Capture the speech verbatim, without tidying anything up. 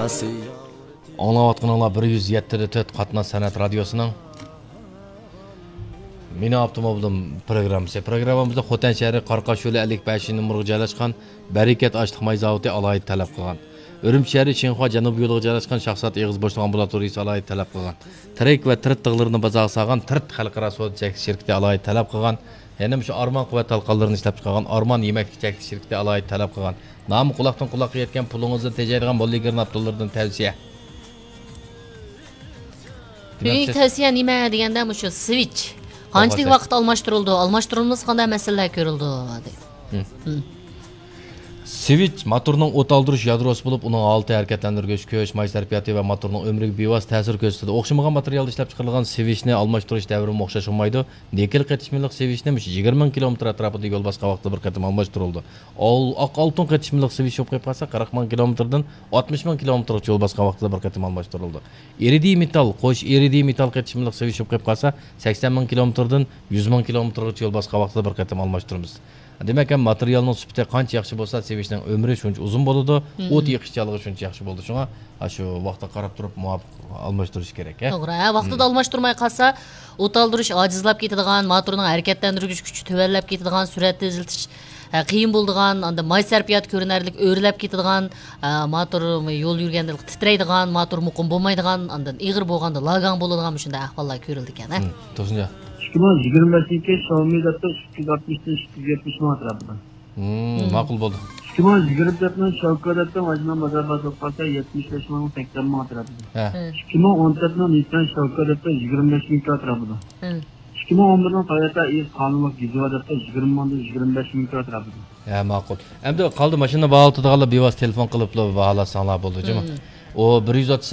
ئاڭلاۋاتقىنىڭلار بىر يۈز يەتتە تۆت قاتناش سەنئەت رادىيوسىنىڭ مېنىڭ ئاپتوموبىلىم پروگراممىسى. پروگراممىمىزدا خوتەن شەھىرى قاراقاش يولى ئەللىك بەشىنچى نومۇرغا جايلاشقان بەرىكەت ئاشلىق ماي زاۋۇتى ئالاھىدە تەلەپ قىلغان. ئۈرۈمچى شەھىرى شىنخۇا جەنۇبىي يولىغا جايلاشقان شاھزات ئېغىز بوشلۇق ئامبۇلاتورىيىسى ئالاھىدە تەلەپ قىلغان. تىرەك ۋە تىرىت تىغلىرىنى بازارغا سالغان تىرىت خەلقئارا سودا چەكلىك شىركىتى ئالاھىدە تەلەپ قىلغان. يەنە مۇشۇ ئارمان قۇۋۋەت تالقانلىرىنى ئىشلەپچىقارغان ئارمان يېمەكلىك چەكلىك شىركىتى ئالاھىدە تەلەپ قىلغان. نامى قۇلاقتىن قۇلاققا يەتكەن، پۇلىڭىزنى تېجەيدىغان موللى گىرناپتوللىرىدىن تەۋسىيە. دېمەك، بۈگۈنكى سىز تەۋسىيە نېمە دېگەندە، مۇشۇ سۋىچ قانچىلىك ۋاقىت ئالماشتۇرۇلىدۇ، ئالماشتۇرۇلمىسا قانداق مەسىلىلەر كۆرۈلىدۇ، دەيدۇ. مم. مم. سۋىچ موتورنىڭ ئوت ئالدۇرۇش يادروسى بولۇپ، ئۇنىڭ ھالىتى، ھەرىكەتلەندۈرگۈچ كۈچ، ماي سەرپىياتى ۋە موتورنىڭ ئۆمرىگە بىۋاسىتە تەسىر كۆرسىتىدۇ. ئوخشىمىغان ماتېرىيالدا ئىشلەپچىقىرىلغان سۋىچنى ئالماشتۇرۇش دەۋرىمۇ ئوخشاش بولمايدۇ. نىكېل قېتىشمىلىق سۋىچنى مۇشۇ يىگىرمە مىڭ كىلومېتىر ئەتراپىدا يول باسقان ۋاقتىدا بىر قېتىم ئالماشتۇرۇلىدۇ. ئال-، ئاق ئالتۇن قېتىشمىلىق سۋىچ بولۇپ قېلىپ قالسا، قىرىق مىڭ كىلومېتىردىن ئاتمىش مىڭ كىلومېتىرغىچە يول باسقان ۋاقتىدا بىر قېتىم ئالماشتۇرۇلىدۇ. ئىرىدىي مېتال، قوش ئىرىدىي مېتال قېتىشمىلىق سۋىچ بولۇپ قېلىپ قالسا، سەكسەن مىڭ كىلومېتىردىن يۈز مىڭ كىلومېتىرغىچە يول باسقان ۋاقتىدا بىر قېتىم ئالماشتۇرىمىز. دېمەك، ھەم ماتېرىيالنىڭ سۈپىتى قانچە ياخشى بولسا، سۋىچنىڭ ئۆمرى شۇنچە ئۇزۇن بولىدۇ، مم، ئوت يېقىشچانلىقى شۇنچە ياخشى بولىدۇ. شۇڭا، ھە، شۇ ۋاقىتقا قاراپ تۇرۇپ مۇۋاپىق ئالماشتۇرۇش كېرەك، ھە؟ توغرا، ھە، ۋاقتىدا، مم، ئالماشتۇرماي قالسا، ئوت ئالدۇرۇش ئاجىزلاپ كېتىدىغان، موتورنىڭ ھەرىكەتلەندۈرگۈچ كۈچى تۆۋەنلەپ كېتىدىغان، سۈرئەت تېزلىتىش، ھە، قىيىن بولىدىغان، ئاندىن ماي سەرپىياتى كۆرۈنەرلىك ئۆرلەپ كېتىدىغان، ھە، موتور يول يۈرگەندە تىترەيدىغان، موتور مۇقىم بولمايدىغان، ئاندىن ئېغىر بولغاندا لاگاڭ بولىدىغان مۇشۇنداق ئەھۋاللار كۆرۈلىدىكەن، ھە؟ مم، توغرا. ئىككى مىڭ يىگىرمە بەشىنچى يىلى شاۋمى دەپتۇ ئىككى يۈز ئاتمىشتىن ئىككى يۈز يەتمىش مىڭ ئەتراپىدا. مم، مم، ماقۇل بولدى. ئىككى مىڭ يىگىرمە تۆتنىڭ شاۋكا دەپتۇ ئاجمىن بازار بازار قالسا يەتمىش بەش مىڭ سەكسەن مىڭ ئەتراپىدا. ھە. ھە. ئىككى مىڭ ئون تۆتنىڭ نىسسان شاۋكا دەپتۇ يىگىرمە بەش مىڭ ئەتراپىدا. ھە. ئىككى مىڭ ئون بىرنىڭ تويوتا ئېيس قانۇنلۇق گېزىۋا دەپتۇ يىگىرمە مىڭدىن يىگىرمە بەش مىڭ ئەتراپىدا. ھە، ماقۇل. ئەمدى قالدى ماشىنا باھالىتىدىغانلار بىۋاسىتە تېلېفون قىلىپلا باھالاتساڭلار بولدى، جۇمۇ. مم. ئۇ بىر يۈز ئاتمىش